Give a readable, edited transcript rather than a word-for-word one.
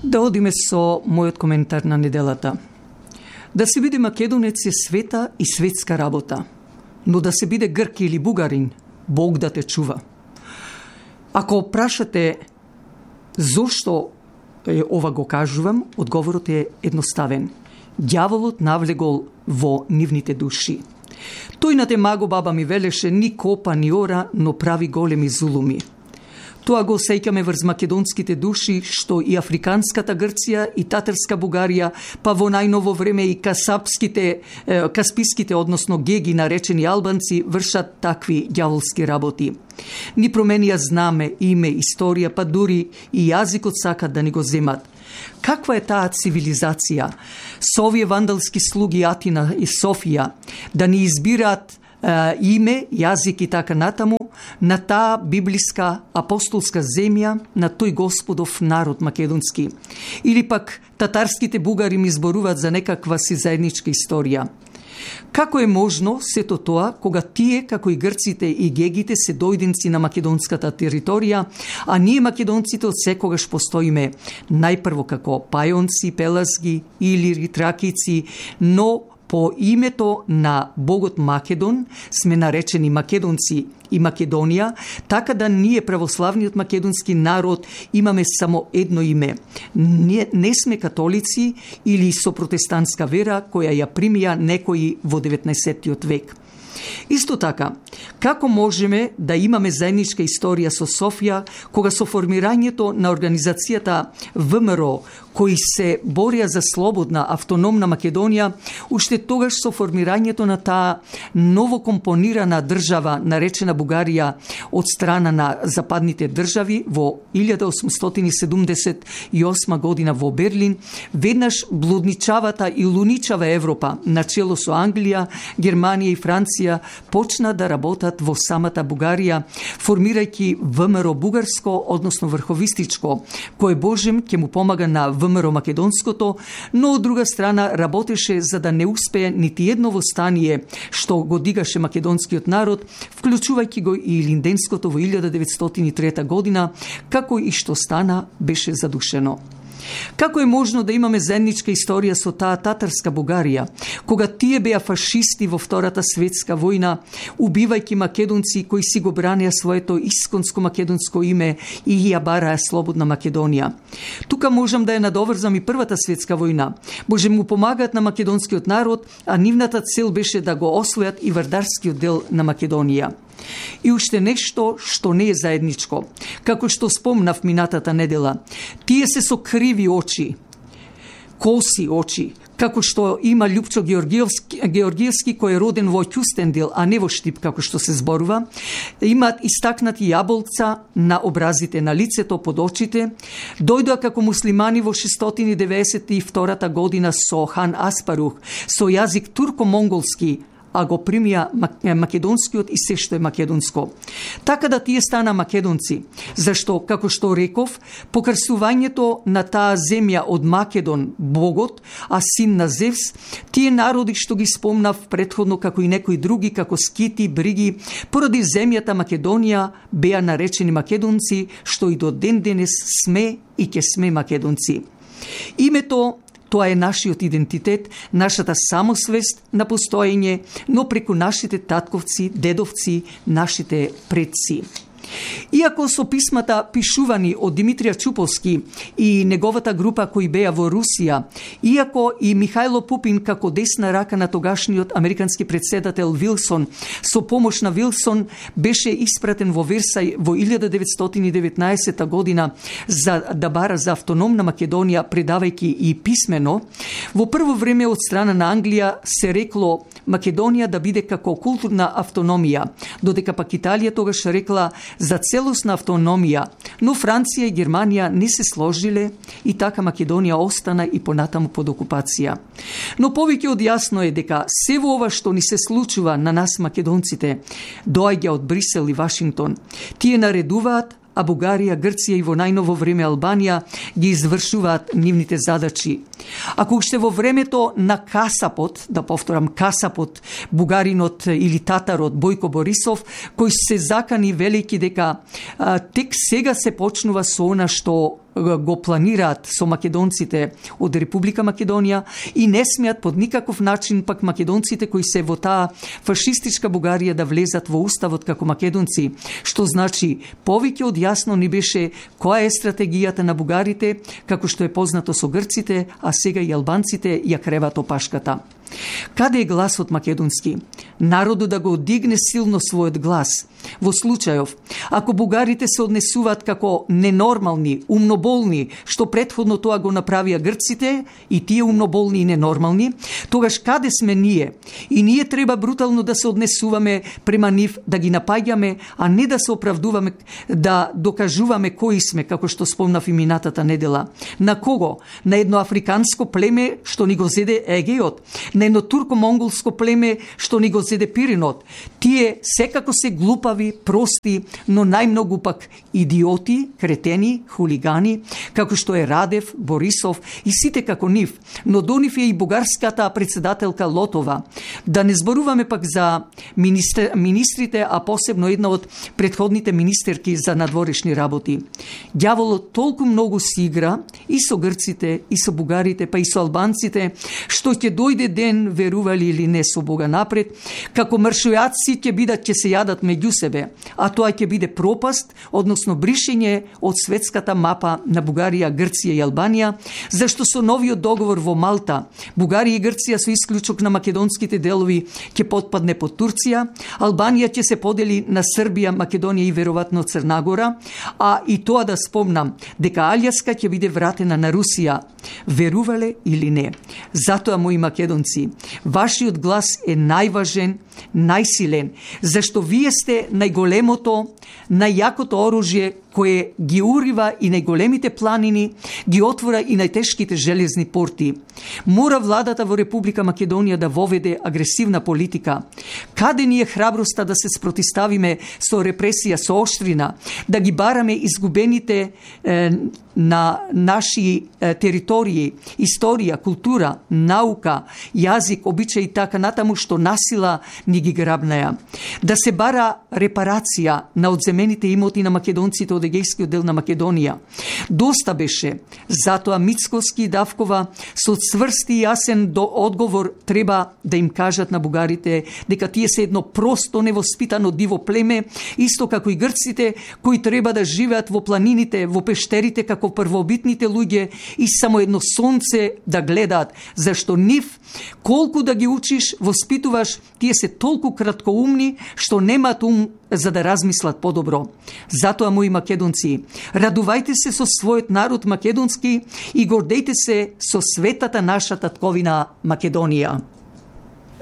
Да одиме со мојот коментар на неделата. Да се биде македонец е света и светска работа, но да се биде грк или бугарин, Бог да те чува. Ако прашате зошто ова го кажувам, одговорот е едноставен. Ѓаволот навлегол во нивните души. Тој на темаго баба ми велеше ни копа, ни ора, но прави големи зулуми. Тоа го сеќаме врз македонските души, што и африканската Грција и татарска Бугарија, па во најново време и касписките, односно геги наречени албанци, вршат такви ѓаволски работи. Ни променија знаме, име, историја, па дури и јазикот сакат да ни го земат. Каква е таа цивилизација? Со овие вандалски слуги Атина и Софија да ни избираат име, јазик и така натаму на таа библиска апостолска земја, на тој Господов народ македонски. Или пак татарските бугари ми зборуваат за некаква си заедничка историја. Како е можно сето тоа, кога тие, како и грците и гегите, се дојденци на македонската територија, а ние македонците од секогаш постоиме најпрво како пајонци, пелазги, илири, тракици, но по името на богот Македон сме наречени македонци и Македонија, така да ние православниот македонски народ имаме само едно име. Не сме католици или со протестантска вера која ја примија некои во 19. век. Исто така, како можеме да имаме заедничка историја со Софија, кога со формирањето на организацијата ВМРО, кои се борија за слободна, автономна Македонија, уште тогаш со формирањето на таа новокомпонирана држава, наречена Бугарија, од страна на западните држави во 1878 година во Берлин, веднаш блудничавата и луничава Европа, начело со Англија, Германија и Франција, почна да работат во самата Бугарија, формирајќи ВМРО бугарско, односно врховистичко, кој Божем ќе му помага на ВМРО македонското, но од друга страна работеше за да не успее нити едно восстание што го дигаше македонскиот народ, вклучувајќи го и Илинденското во 1903 година, како и што стана беше задушено. Како е можно да имаме заедничка историја со таа татарска Бугарија, кога тие беа фашисти во Втората светска војна, убивајќи македонци кои си го бранеа своето исконско македонско име и ја бараа слободна Македонија? Тука можам да ја надоврзам и Првата светска војна. Може му помагаат на македонскиот народ, а нивната цел беше да го освојат и вардарскиот дел на Македонија. И уште нешто што не е заедничко. Како што спомнав минатата недела, тие се со криви очи, коси очи, како што има Љупчо Георгиевски, кој е роден во Ќустендил, а не во Штип, како што се зборува, имаат истакнати јаболца на образите, на лицето, под очите, дојдоа како муслимани во 692 година со хан Аспарух, со јазик турко-монголски, а го примија македонскиот и се што е македонско. Така да тие стана македонци, зашто, како што реков, покрсувањето на таа земја од Македон, богот, а син на Зевс, тие народи што ги спомнав претходно, како и некои други, како скити, бриги, поради земјата Македонија беа наречени македонци, што и до ден денес сме и ќе сме македонци. Името тоа е нашиот идентитет, нашата самосвест на постоење, но преку нашите татковци, дедовци, нашите предци. Иако со писмата пишувани од Димитрија Чуповски и неговата група кои беа во Русија, иако и Михајло Пупин како десна рака на тогашниот американски претседател Вилсон со помош на Вилсон беше испратен во Версај во 1919 година за да бара за автономна Македонија, предавајќи и писмено, во прво време од страна на Англија се рекло Македонија да биде како културна автономија, додека пак Италија тогаш рекла за целосна автономија, но Франција и Германија не се сложиле и така Македонија остана и понатаму под окупација. Но повеќе од јасно е дека се во ова што ни се случува на нас македонците доаѓа од Брисел и Вашингтон. Тие наредуваат, а Бугарија, Грција и во најново време Албанија ги извршуваат нивните задачи. Ако уште во времето на касапот, да повторам касапот, бугаринот или татарот Бојко Борисов, кој се закани велики дека тек сега се почнува со она што го планираат со македонците од Република Македонија и не смеат под никаков начин пак македонците кои се во таа фашистичка Бугарија да влезат во уставот како македонци, што значи повеќе од јасно ни беше која е стратегијата на бугарите, како што е познато со грците, а сега и албанците ја креват опашката. Каде е гласот македонски? Народот да го дигне силно својот глас. Во случајов, ако бугарите се однесуваат како ненормални, умноболни, што претходно тоа го направија грците, и тие умноболни и ненормални, тогаш каде сме ние? И ние треба брутално да се однесуваме према нив, да ги напаѓаме, а не да се оправдуваме, да докажуваме кои сме, како што спомнав и минатата недела. На кого? На едно африканско племе што ни го зеде Егејот, на едно турко-монголско племе што ни го зеде Пиринот. Тие секако се глупави, прости, но најмногу пак идиоти, кретени, хулигани, како што е Радев, Борисов и сите како нив, но до нив е и бугарската председателка Лотова. Да не зборуваме пак за министрите, а посебно една од претходните министерки за надворешни работи. Ѓаволот толку многу си игра и со грците, и со бугарите, па и со албанците, што ќе дојде ден, верували или не, со Бога напред, како маршујаци ќе бидат, ќе се јадат меѓу себе, а тоа ќе биде пропаст, односно бришење од светската мапа на Бугарија, Грција и Албанија, зашто со новиот договор во Малта, Бугарија и Грција со исклучок на македонските делови ќе потпадне под Турција, Албанија ќе се подели на Србија, Македонија и веројатно Црна Гора, а и тоа да спомнам, дека Алјаска ќе биде вратена на Русија. Верувале или не? Затоа, мои македонци, вашиот глас е најважен, најсилен, зашто вие сте најголемото, најјакото оружје кое ги урива и најголемите планини, ги отвора и најтешките железни порти. Мора владата во Република Македонија да воведе агресивна политика. Каде ни е храброста да се спротиставиме со репресија, со оштрина, да ги бараме изгубените на наши територии, историја, култура, наука, јазик, обичаи и така натаму што насила ни ги грабнаја. Да се бара репарација на одземените имоти на македонците од Егејскиот дел на Македонија. Доста беше, затоа Мицкоски и Давкова со цврст и јасен одговор треба да им кажат на бугарите дека тие се едно просто невоспитано диво племе, исто како и грците кои треба да живеат во планините, во пештерите како првобитните луѓе и само едно сонце да гледаат, зашто нив, колку да ги учиш, воспитуваш, тие се толку краткоумни што немаат ум за да размислат подобро. Затоа, мои македонци, радувајте се со својот народ македонски и гордејте се со светата наша татковина Македонија.